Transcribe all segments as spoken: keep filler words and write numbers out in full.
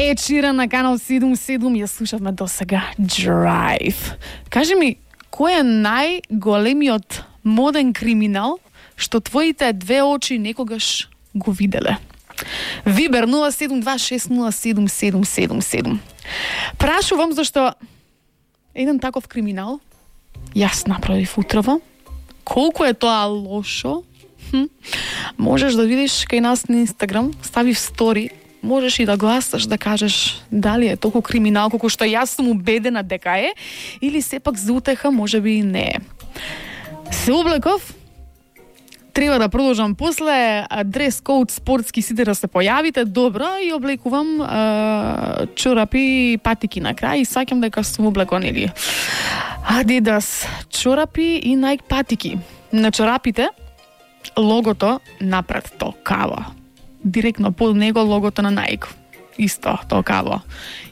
Ед Ширан на канал седум седум ја слушавме до сега Drive. Кажи ми, кој е најголемиот моден криминал што твоите две очи некогаш го виделе? Вибер нула седум два шест нула седум седум седум седум. Прашувам зашто еден таков криминал јас направив утрово. Колку е тоа лошо? Хм. Можеш да видиш кај нас на Инстаграм, ставив стори. Можеш и да гласаш, да кажеш дали е толку криминал колку што јас сум убедена дека е, или сепак за утеха можеби и не е. Се облеков, треба да продолжам после, дрес код спортски сите да се појавите, добро, и облекувам е, чорапи и патики на крај и саќам дека сум облекон или Adidas чорапи и Nike патики. На чорапите логото напред толкаво. Директно под него логото на Nike. Исто толкаво.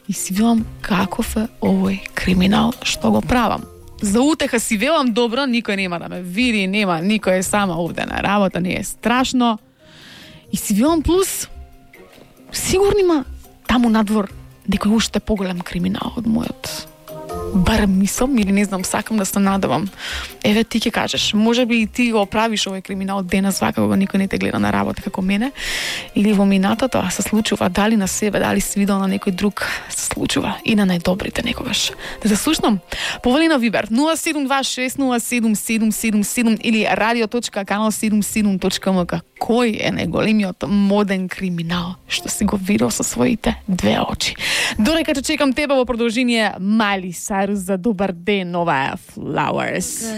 И си велам каков е овој криминал што го правам. За утеха си велам добро, никој нема да ме види, нема, никој е сама овде на работа, не е страшно. И си велам плюс, сигурно има таму надвор некој уште поголем криминал од мојот. Барем мислам, или не знам, сакам да се надевам. Еве ти ќе кажеш, можеби и ти го правиш овој криминал денес вака кога никој не те гледа на работа како мене, или во минатото се случува, дали на себе, дали си видел на некој друг, се случува и на најдобрите некогаш. Да се слушнам. Повели на Вибер нула седум два шест нула седум седум седум седум или радио точка канал седум седум точка ем ка. Кој е најголемиот моден криминал што си го видел со своите две очи? Додека ќе чекам тебе во продолжение, Мали Сайрус за добар ден, ова е Flowers.